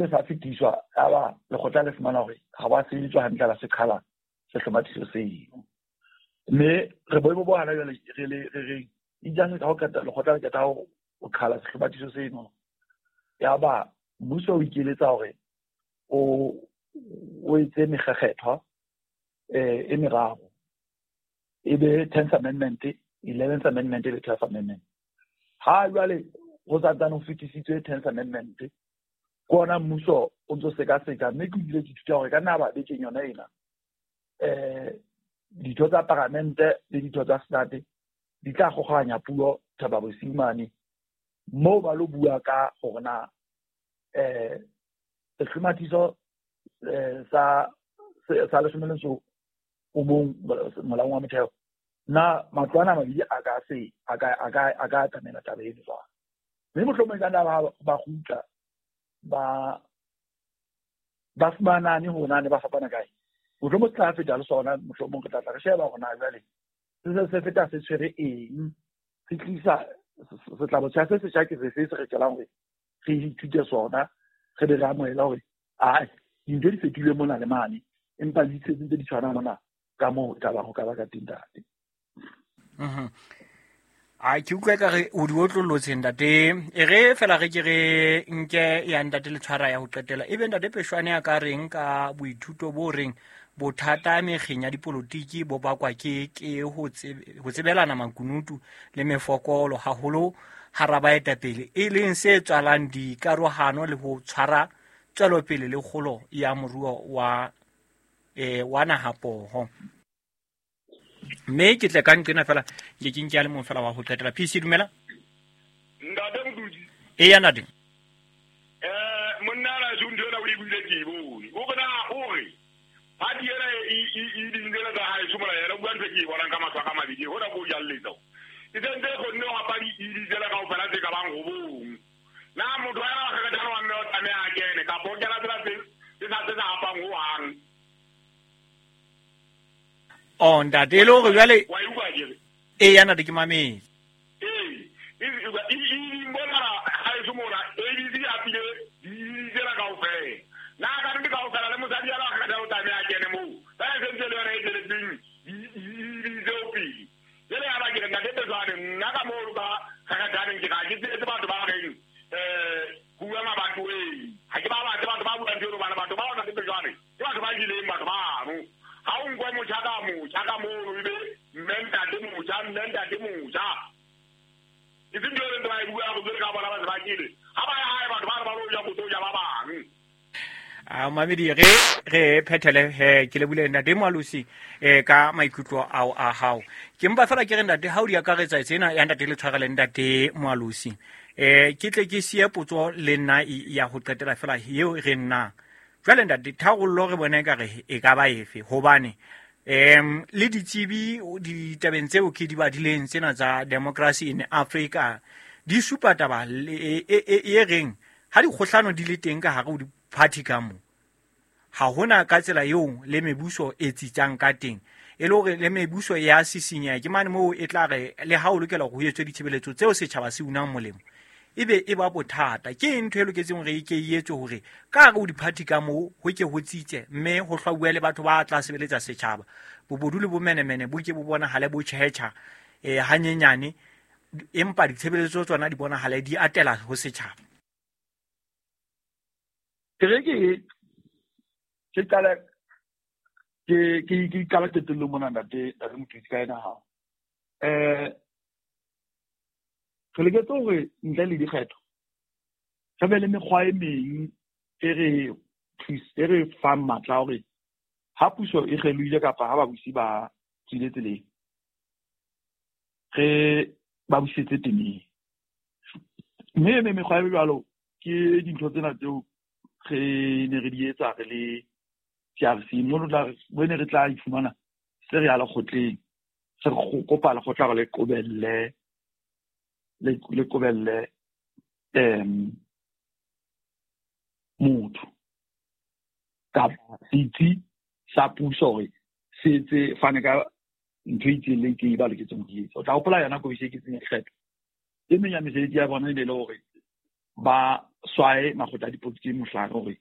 Se sa fetiswa, yaba lekgotla le fumana hore ha wa sebeditswa hantle, la se qhala sehlomathiso seno. Mme re boemo bo hana jwale re le re reng itse ka ho qeta lekgotla le qeta ho qhala sehlomathiso seno, yaba mmuso o ikeletsa hore o etse mekgekgetho e meraro, e be 10th Amendment, 11th Amendment le 12th Amendment. Ha jwale ho santsane ho fetisitswe 10th Amendment, ke ona mmuso o ntso sekaseka, mme ke ile ke ithuta hore ka nna ba bekeng yona ena ditho tsa paramente le ditho tsa senate di tla kgokganya puo Thaba Bosiu mane, moo ba lo bua ka hore na sehlomathiso sa 11 molaong wa motheo, na matlo ana a mabedi a ka se a ka atamela taba eno jwang. Mme mohlomong e ka nna ba kgutla ba fumanane hore na ne ba fapana kae. Mohlomong se tla feta le sona, mohlomong re tla tla re sheba hore na jwale se feta se tshwere eng, se tlisa setlabotjha se setjha ke sefe se re tjelang hore re ithute sona, re be re amohela hore ai dintho di fetohile mona le mane, empa di ntse di tshwana mona ka moo taba ho ka ba ka teng ntate. A ke utlwa ka re o di otlollotse ntate. E re fela re ke re nke ya ntate le tshwara ya ho qetela. Ebe ntate Peshoane a ka reng ka boithuto bo reng bothata mekgeng ya dipolotiki bo bakwa ke ho tsebelana makunutu le mefokolo haholo hara baetapele, e leng se tswalang dikarohano le ho tshwara tswelopele le kgolo ya moruo wa naha poho. Mme ke tle ka nqena fela ke ke nke a le mong fela wa ho qetela. PC dumela. Ntate Modudi. Eya ntate. Monna la ntho ena o e buile ke e bone. O re na o re party ena e dintlela tsa hae somola yena o bua ntho ke e bonang ka mahlo a ka mabedi, hona ko jalletsa. E sentse e kgonne ho hapa di-ed tsela kaofela tse ka bang robong. Na motho wa yena wa kgekgethana wa mme o tlameha a kene, kapa o kena tsela tse sa hapang hohang. Oh ntate, e le hore jwale wa e utlwa akere? Eya ntate, ke mametse. Ee, e bona ha e mona ABC a pile di-ed tsela kaofela. Na ka nnete kaofela le mosadi ya wa kgekgethana o tlameha a kene moo. Ka e sentse le yona e tsweletseng di-ed tseo pele. Jwale ya ba ke re ntate Peshoane, nna ka moo ka kgekgethaneng ke ga ke tsetse batho ba reng bua mabatoweng. Ha ke ba batle batho ba buang jwalo, hobane batho bao ntate Peshoane ke batho ba jeleng batho bano. Ha o nkwe motjha ka motjha ka mono, ebe mme ntate motjha, mme ntate motjha. E seng ntho e ntse ba e bua go ka bona ba se ba kile. Ha ba ya hae batho ba re ba lo ja botho ja ba bang. A mamedi re phethele he ke le bule ntate Moalosi ka maikutlo ao a hao. Ke mpa fela ke re ntate ha o di akaretsa tsena ya ntate le tshwarele ntate Moalosi. Ke tle ke siye potso le nna ya ho qetela fela eo re nna. Jwale ntate tharollo re bone ka re e ka ba efe, hobane le ditsebi ditabeng tseo ke di badileng tsena tsa Democracy in Africa di supa taba e reng ha dikgohlano di le teng ka hare ho di-party ka mo, ha hona ka tsela eo le mebuso e tsitsang ka teng, e le hore le mebuso ya sisinyeha ke mane moo e tla re le ha o lokela hore ho etswe ditshebeletso tseo setjhaba se unang molemo, ebe e ba bothata. Ke ntho e loketseng hore e ke e etswe hore ka hare ho di-party ka moo ho ke ho tsitse, mme ho hlwauwe le batho ba tla sebeletsa setjhaba. Bobodu le bomenemene bo ke bo bonahale bo tjhetjha hanyenyane, empa ditshebeletso tsona di bonahale di atela ho setjhaba. Ke re ke qala ke qala qetellong mona ntate Mothusi ka ena hao. Re loketse hore ntle le dikgetho re be le mekgwa e meng e re fang matla hore ha puso e kgelohile kapa ha babusi ba tswile tseleng, re ba busetse temeng. Mme mekgwa e jwalo ke dintho tsena tseo re ne re di etsa re le TRC, mo ne re tla ifumana se re ya lekgotleng, se re kopa lekgotla hore le qobelle motho kapa setsi sa puso hore se etse fane ka ntho e itseng le itseng e ba loketseng ho etsa. O tla hopola yona komishene e ketseng ya dikgetho. E meng ya mesebetsi ya bona e ne le hore ba swaye makgotla a dipolotiki mohlare hore